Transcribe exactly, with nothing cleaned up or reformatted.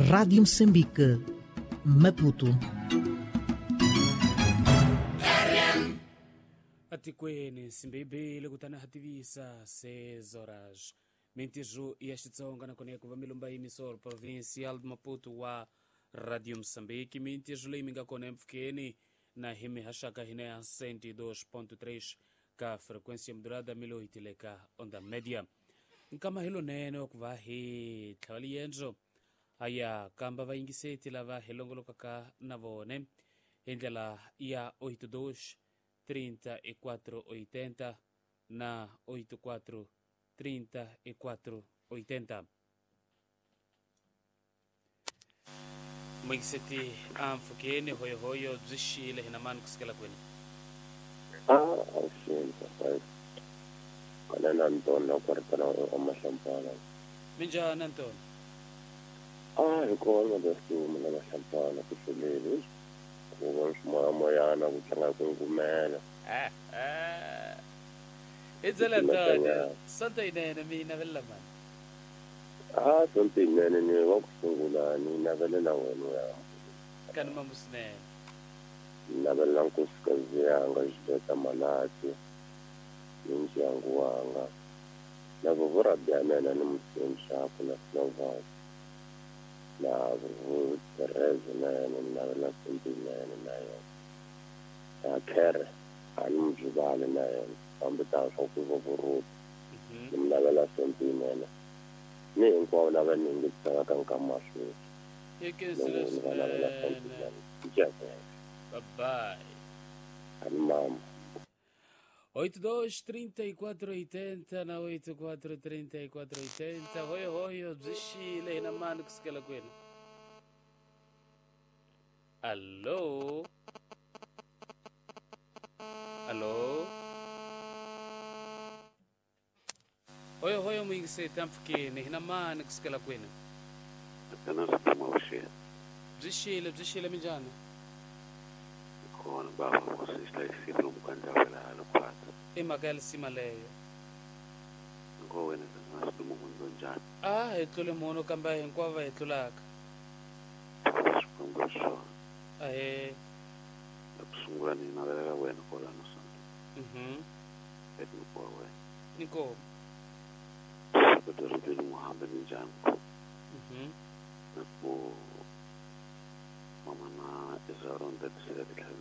Rádio Moçambique, Maputo. Atikweni nsimbi kutani ha tivisa seis horas mintirho ya Xitsonga nakona ya ku va milumba yimisoro provincial de Maputo wa Radio Moçambique. Mintirho leyi mi nga kona empfhukeni na hi mihaxaka hina ya cento e dois ponto três ka frequência modulada mil oito le ka onda média. Nkama hi lonene wa ku va hi tlhava liendzo a ya kamba vayingiseti lava hi longolokaka na vone hi ndlela ya oito dois trinta e quatro oitenta na oito quatro trinta e quatro oitenta. Muyingiseti a mpfhukeni hoyohoyo byi xile hina mani kusukela kwini? Ah, avuxeni papayi. Kana na Ntoni na ku ri tana wa Mahlampana. Minjhani Antoni? Ah, hi kona leswi na Mahlampana ku hluleli. Ku vona swimoyamoyana ku tlanga ku ngumela. Hi byela Ntoni, sonto yinene mi yi navelela mani? Ah, sonto yinene ni wa ku sungula ni navelela wena ya. Kani mamu swinene. Ni navelela nkosikazi yanga Julieta Malati ni ndyangu wanga na vuvurabi ya mina ni mutsundzuxaku na Slovak na vuvu Therese na yena ni navelela sonto yinene na yena na Kere a ni mujuvali na yena kambe ta swa ku va vuruti ni mi navela sonto yinene ni hinkwavo lava ni yingisaka ka nkama wa sweswi Hi khensile ni va navela sonto swinene. yinene. Nceke. Bye bye. Ani mama. oito dois trinta e quatro oitenta na oito quatro trinta e quatro oitenta. Hoyo hoyo byi xile hina mani kusukela kwini? Allo, allo, hoyo hoyo muyingiseti ampfhukeni hina mani kusukela kwini? Apenas promotion. Byi xile byi xile minjhani? Khona baba usihlayisile umkhandlu lokuphatha. I mhaka ya lisima leyo. Ngo wena ngasilumo njani? A hi tlule munhu kambe hinkwavo va hi tlulaka. Xikwembu xo. Ahee. Ekusungula ni navelela wena kwalano sonto. Mhm. Etnikwa wena. Inkomu. Kodwa muhambe ninjani? Mhm. Na ku mama na Israel ndetsela titlhela